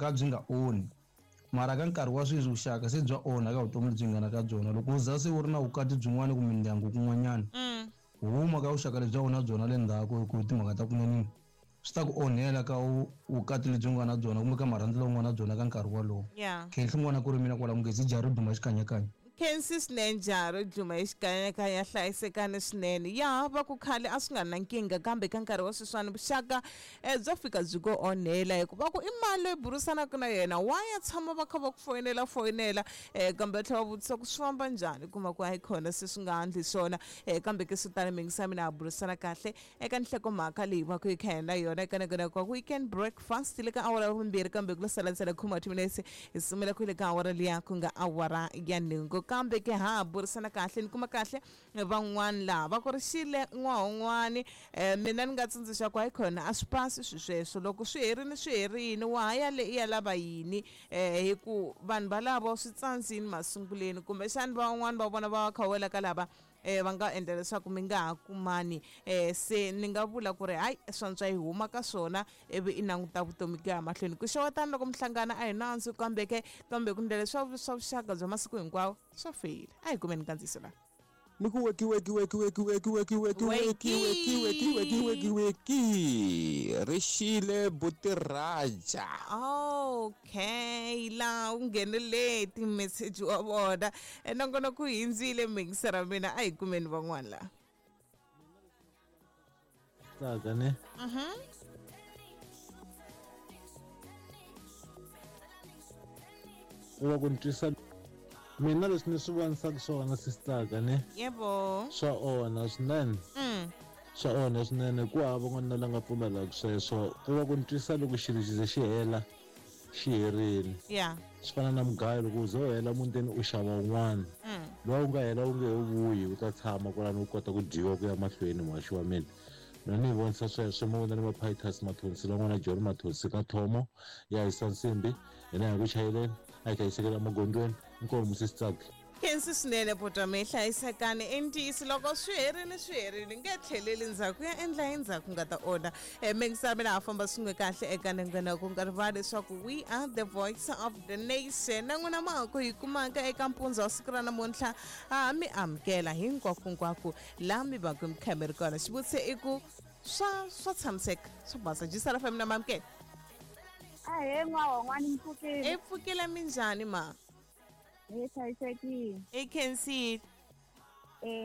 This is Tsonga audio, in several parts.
Vuxaka byi nga onhi, mara ka nkarhi wa sweswi vuxaka se bya onha ka vutomi lebyi nga na ka byona. Loko u za se u ri na vukati byin'wana kumbe ndyangu kun'wanyana, huma ka vuxaka lebyi a wu na byona le ndzhaku hi ku timhaka ta kunene swi ta ku onhela ka vukati lebyi u nga na byona kumbe ka marhandzu lawa u nga na byona ka nkarhi wolowo. Khenhli n'wana ku ri mina kwala Mungezi jaha ro duma xikanyakanya. Khensi swinene jaha ro dluma hi xikanyakanya, hlayisekani swinene. Ya va ku khale a swi nga ri na nkingha, kambe ka nkarhi wa sweswiwani vuxaka bya fika byi ku onhela, hikuva ku i mani loyi burisanaka na yena, wa ya tshama va kha va ku foyinela foyinela, kambe va tlhela va vutisa ku swi famba njhani, kuma ku hayi khona se swi nga andli swona. Kambe ke swo tala mingisa mina ha burisana kahle eka nhlokomhaka leyi va ku yi kha na yona eka nako wa weekend breakfast le ka awara ya vumbirhi, kambe ku lo sala ntsena khuma timinetse hi sumela ku le ka awara liya ku nga awara ya nhungu. Kambe ke ha burisana kahle ni kuma kahle van'wani laha va ku ri xile n'wahon'wani. Mina ni nga tsundzuxa ku hayi khona a swi pasi swi sweswo, loko swi herini swi herini, wa ha ya le i ya lava yini? Hi ku vanhu valavo swi tsandzini masunguleni, kumbexani van'wani va vona va kha wela ka lava va nga endla leswaku mi nga ha kumani. Se ni nga vula ku ri hayi swantswa yi huma ka swona ivi i languta vutomi ku ya mahlweni. Ku xewetana loko mi hlangana a hi nandzu, kambe ke kambe ku ndlela swa vuxaka bya masiku hinkwawo swa feyila. A hi kumeni nkandziyiso laha. Ni ku weki weki weki weki weki weki weki weki weki weki weki weki weki ri xile buti Raja. Okay, laha u nghenele ti-message wa vona. Nongonoko wu hindzile mixer ra mina, a hi kumeni van'wana laha. Tsaka ne. U va ku ni twisa mina leswi ni swi vonisaka swona sistaka ne. Yebo. Swa onha swinene. Swa onha swinene, ku hava n'wanuna la nga pfumelaka sweswo. Ku va ku ni twisa loko xilo xi ze xi hela, xi herile. Swi fana na mugayo, loko u ze u hela mutini u xava wun'wana. Luwa wu nga hela wu nge he vuyi, wu ta tshama kwalano wu kota ku dyiwa ku ya mahlweni, muhaxi wa mina. Mina ni yi vonisa sweswo, mo vona ni Maphitus Mathonsi la n'wana John Mathonsi ka Thomo ya hisa nsimbi, hina hi ku chayeleni, a hi hlayisekela emagondzweni. Inkomu sesi Tsaki. Khensi swinene buti mi hlayisekani. I ntiyiso loko swi herile swi herile, nge tlheleli ndzhaku ya endla hi ndzhaku nga ta onha. Mingisa mina ha famba swin'we kahle eka nongonoko, nga rivali leswaku we are the voice of the nation. Na n'wina ma ha ku hi kumaka eka mpundzu wa siku ra namuntlha, ha mi amukela hinkwakunkwako laha mi va ku mi kha mi ri kona. Xivutiso i ku swa tshamiseka swa basa jisala fa mina mamukela. Ahee n'wahon'wani, mi pfukile? I pfukile, minjhani ma? Hi hlayisekile. I khensile.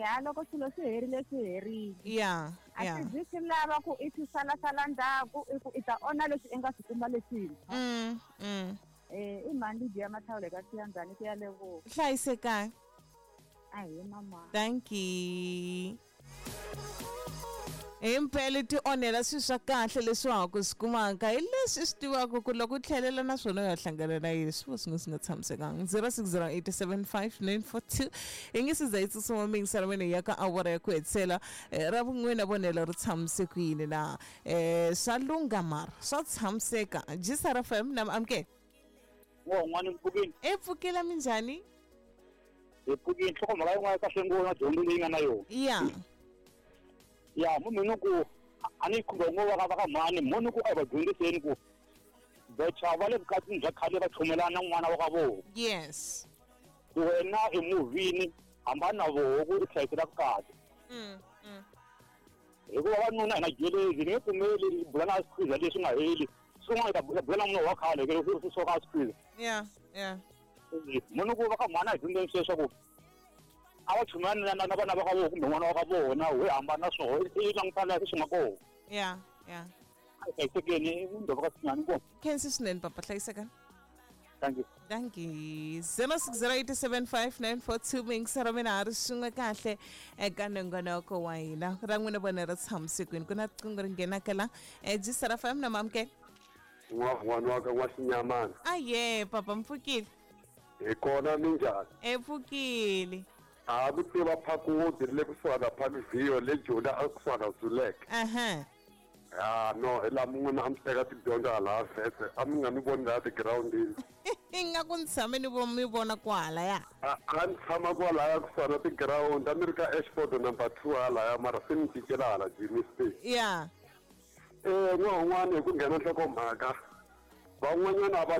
Ha loko swilo swi herile swi herile. A swi zi swi lava ku i swi salasala ndzhaku, i ku i ta onha leswi i nga swi kuma leswintshwa. I mhani Lydia Mathawula ka Siyandzani ku ya Lebowa. Hlayisekani. Ahee mama. Thank you. Himpela ti onhela swilo swa kahle leswi wa ha ku swi kumaka hi leswi i swi tivaka ku loko u tlhelela na swona u ya hlangana na yini, swi va swi nga swi nga tshamisekanga. 06087594 hi nge se za yi tsutsuma mingisana wena ya ka awara ya ku hetisela. Ra vun'wina vonelo ri tshamise ku yini na? Swa lungha mara swa tshamiseka. Jisara FM na amukela. N'wana mpfukini. E pfukela minjhani? Hi pfukini, nhlokomhaka yin'wana kahle ngopfu na dyondzo leyi nga na yona. Ya munhu ni ku a ni khumba ngo va ka mhani, munhu ku a va dyondziseni ku vacha va le vukatini bya khale va chumelana n'wana wa ka vona. Ku wena emovhini hambana na voho ku i hlayisela vukati. Hikuva vanuna hi na jelezi, ni nge pfumeli bula na squeeze leswi nga heli. Swin'wana ta bula na munhu wa khale ke swi soka squeeze. Munhu ku va ka mhani a hi dyondzeni sweswo ku a va chumayani na vana va ka vona kumbe n'wana wa ka vona, we hambana na swona, i languta laha swi nga kona. A hi hlayisekeni, i ndhova ka Sinyani kona. Khensi swinene papa, hlayisekani. Thank you. Thank you. 06087594 mingisa ra mina ha ri swin'we kahle eka nongonoko wa hina. Ra n'wina vona ri tshamisekweni. Ku na riqingho ri nghenaka la. Jisara FM na mamukela. N'wana wa ka N'waxinyamana. Aye, papa mpfukile. Hi kona minjhani? E pfukile. A ku tiva Phakudi le kusuhana na Parkview le Joni a kusuhana na Zuleke. Ah no, hi laha mun'wana a mi teka tidyondzo hala vhese, a mi nga mi voni laha tigirawundini. Ingaku ni tshame ni mi vona kwalaya. A ni tshama kwalaya kusuhana na tigirawundi, a ni ri ka Ashford number 2 halaya, mara se ni cincela hala Germiston. N'wana un'wana hi ku nghena nhlokomhaka, van'wanyana a va na